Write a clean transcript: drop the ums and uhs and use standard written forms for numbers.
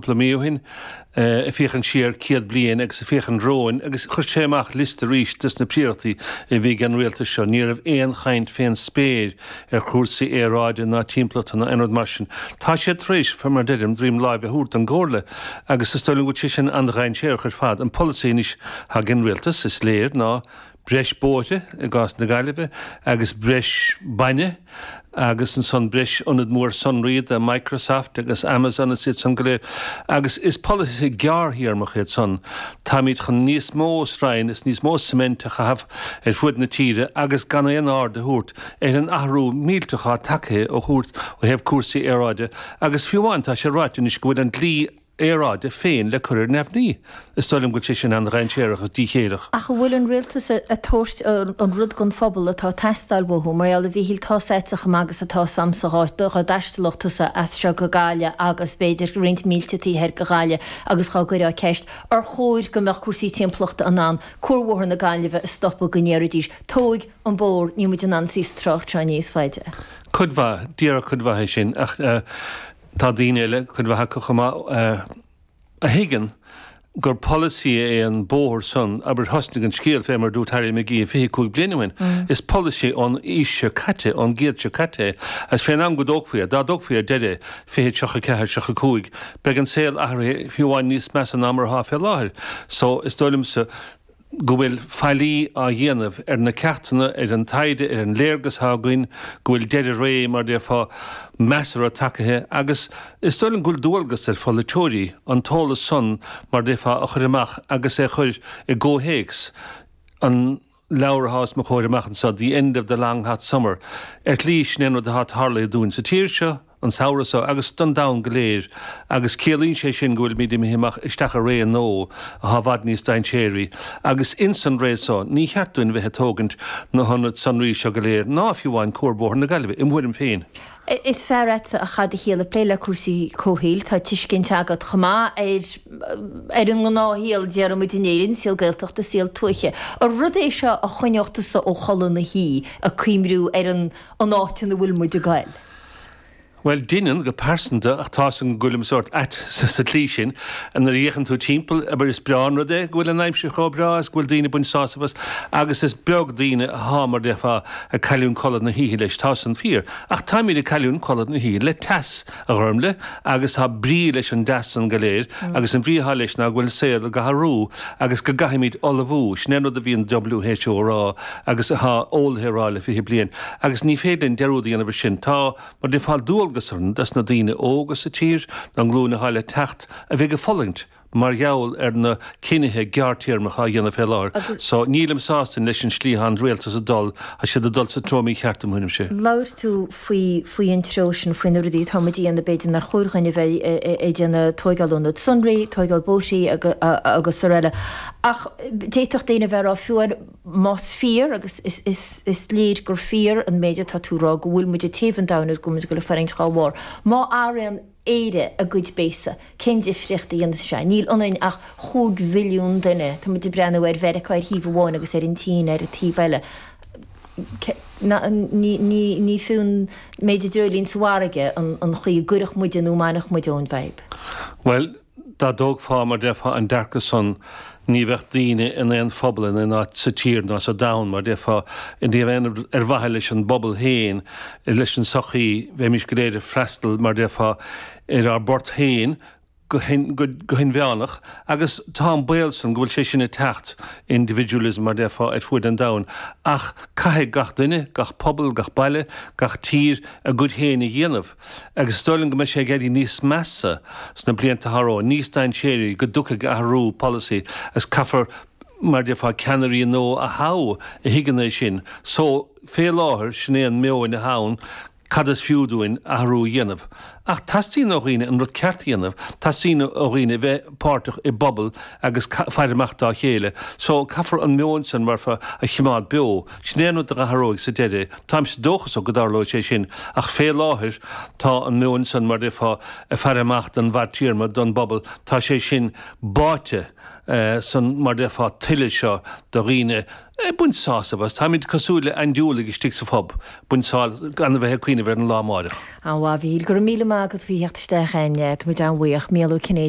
cúpla mí ó shin, ag féachaint siar 100 bliain agus ag féachaint romhainn agus chuir sé amach liosta arís des na príorachtaí a bhí ag an rialtas seo. Ní raibh aon chaint fén spéir ar chúrsaí aeráide ná timpeallachta ná aon rud mar sin. Tá siad tar éis, fé mar deirim, droim láimhe a thabhairt don gcomhairle agus is dóigh liom go bhfuil sé sin an-dhainséarach ar fad. An polasaí anois atá ag an rialtas, is léir, ná breis bóithre i gcás na Gaillimhe agus breis bainne agus ansan breis ionad mór sonraí do Microsoft agus Amazon is iad san go léir. Agus is polasaithe gearrthéarmach iad san. Táimid chun níos mó stroighin is níos mó cement a chaitheamh ar fuaid na tíre agus gan aon aird a thabhairt ar an athrú millteach atá tagtha ó ó thaobh cúrsaí aeráide agus fiú amháin tá sé ráite anois go bhfuil an dlí aeráide féin le cur ar neamhní. Is dóigh liom go bhfuil sé sin an-dhainséarach agus díchéilleach. Ach an bhfuil an rialtas ag tabhairt an rud don phobal atá ag teastáil uathu? Mar gheall, a Mhíchíl, tá's a'dsa chomh maith agus atá's a'msa dhá dtaistealódh tusa as seo go Gaillimh agus b'fhéidir roinnt mílte taobh thoir de Ghaillimh agus dhá gcuirfeá ceist ar chóir go mbeadh cúrsaí timpeallachta in ann cuarbhóthar na Gaillimhe a stopadh go ndéarfaidís tóig an bóthar, níl muid in ann suí sa trácht seo níos faide. Cuid mhaith, déarfadh cuid mhaith é sin ach tá daoine eile, cuid mhaith acu chomh maith, a thuigeann gur polasaí é an bóthar san, abair, thosnaigh an scéal fé mar a dúirt Harry McGee 25 bliain ó shin. Is polasaí ón aois seo caite, ón gcéad seo caite é. Agus fén am go dtógfaí é, dá dtógfaí ar deireadh é, 2034, 35, beidh an saol athraithe fiú amháin níos measa ná mar atá fé láthair. So, is dóigh liomsa, go bhfuil faillí á dhéanamh ar na ceachtanna, ar an taighde, ar an léargas atá againn, go bhfuil deireadh ré, mar a déarfá, measartha tagaithe agus is dóigh liom go bhfuil dualgas ar pholaiteoirí an t-eolas san, mar a déarfá, a chur amach agus é a chur i gcomhthéacs an leabhar atá os mo chomhair amach anseo, The End of the Long Hot Summer. Ar shlí, sin é an rud atá tarlaithe dúinn sa tír seo, an samhradh seo agus don domhan go léir agus ciallaíonn sé sin go bhfuilimid imithe amach isteach i ré nua atá i bhfad níos dainséaraí agus ins an ré seo ní cheart dúinn bheith ag tógaint na hionaid sonraí seo go léir ná fiú amháin Cuarbhóthar na Gaillimhe, im thuairim féin. Is fear a'dsa a chaith do shaol ag plé le cúrsaí comhshaoil, tá tuiscint agat chomh maith ar ar an ngnáthshaol, déarfaidh muid in Éirinn, saol Gaeltachta, saol tuaithe. An rud é seo a choinneodh tusa ó chodladh na hoíche, ag cuimriú ar an an áit ina bhfuil muid ag goil? Bhuel, deineann, go pearsanta, ach tá's agam go bhfuilim sórt ait sa tslí sin. Nuair a fhéachann tú timpeall, abair, is breá an rud é go bhfuil an aimsir chomh breá is go bhfuil daoine ag baint sásamh as, agus is beag daoine athá, mar déarfá, ag cailliúint codladh na hoíche leis, tá san fíor. Ach táimid ag cailliúint codladh na hoíche le teas, a Ghormlaith, agus tá brí leis an dteas san go léir, agus an bhrí athá leis ná go bhfuil an saol ag athrú agus go gcaithfimid ullmhú. Sin é an rud a bhíonn WHO a rá agus athá eolaithe a rá le 20 bliain. Agus ní féidir linn dearúd a dhéanamh ar sin. Tá, mar déarfá, dualgas orainn dos na daoine óga sa tír, don nglúin athá le teacht, a bheidh ag fulaingt mar gheall ar na cinnithe gearrtéarmacha á dhéanamh fé láthair. So, nílim sásta leis an slí athá an rialtas ag dul, tá siad ag dul sa treo mícheart im thuairimse. Labhair tú faoi, faoi an treo sin, faoi na rudaí atá muid a dhéanamh, b'fhéidir nár chóir dhuinn a bheith ag déanamh, tóigeáil ionad sonraí, tóigeáil bóithrí agus araile. Ach d'fhéadfadh daoine a bheith ag rá fiú amháin, Más fíor, agus is léir gur fíor an méid atá tú a rá, go bhfuil muid ag téamh an domhain agus go bhfuil muid ag dul ag fulaingt dhá bharr, má athraíonn Éire a gcuid béasa, cén difríocht a dhéanfas sé? Níl ionainn ach chúig mhilliún duine. Tá muid ag breathnú ar Mheiriceá ar thaobh amháin agus ar an tSín ar an taobh eile. Ní fiú an méid i dreoilín sa bhfarraige an chaoi a gcuirfeadh muide nó a mbainfeadh muid ón bhfadhb. Bhuel, Dá dtógfá, mar déarfá, an dearcadh san, ní bheadh daoine in aon phobal in aon áit sa tír ná sa domhan, mar déarfá, i dtaobh aon rud ar mhaithe leis an bpobal féin, leis an sochaí, bheimis go léir ag freastal, mar déarfá, ar ár bport féin go hinmheánach agus tá an baol san go bhfuil sé sin ag teacht, individualism, mar déarfá, ar fuaid an domhain. Ach caithfidh gach duine, gach pobal, gach baile, gach tír a gcuid féin a dhéanamh. Agus is dóigh liom go mbeidh sé ag éirí níos measa sna blianta atá romhainn, níos dainséaraí, go dtiocfaidh athrú polasaí agus caithfear, mar a déarfá, ceannairí nua a thoghadh a thuigeann é sin. So, fé láthair, sin é an meon atá ann, cad is fiú dúinn athrú a dhéanamh? Ach teastaíonn ó dhaoine an rud ceart a dhéanamh, teastaíonn ó dhaoine a bheith páirteach i bpobal agus faire amach dá chéile. So, caithfear an meon san, mar a déarfá, a chimeád beo. Sin é an rud a athróidh sa deireadh. Táimse dóchasach go dtarlóidh sé sin, ach fé láthair tá an meon san, mar a déarfá, ag faire amach don bhfadtéarma, don bpobal, tá sé sin báite san, mar a déarfá, tuile seo de dhaoine ag baint sásamh as. Táimid cosúil le aindiúlaigh istigh sa phub, baint sá, gan a bheith ag cuimhneamh ar an lá amáireach. An-mhaith, a Mhíchíl. Go raibh míle maith agat faoi theacht isteach againn. Tá muid an-bhuíoch. Mícheál Ó Cinnéide.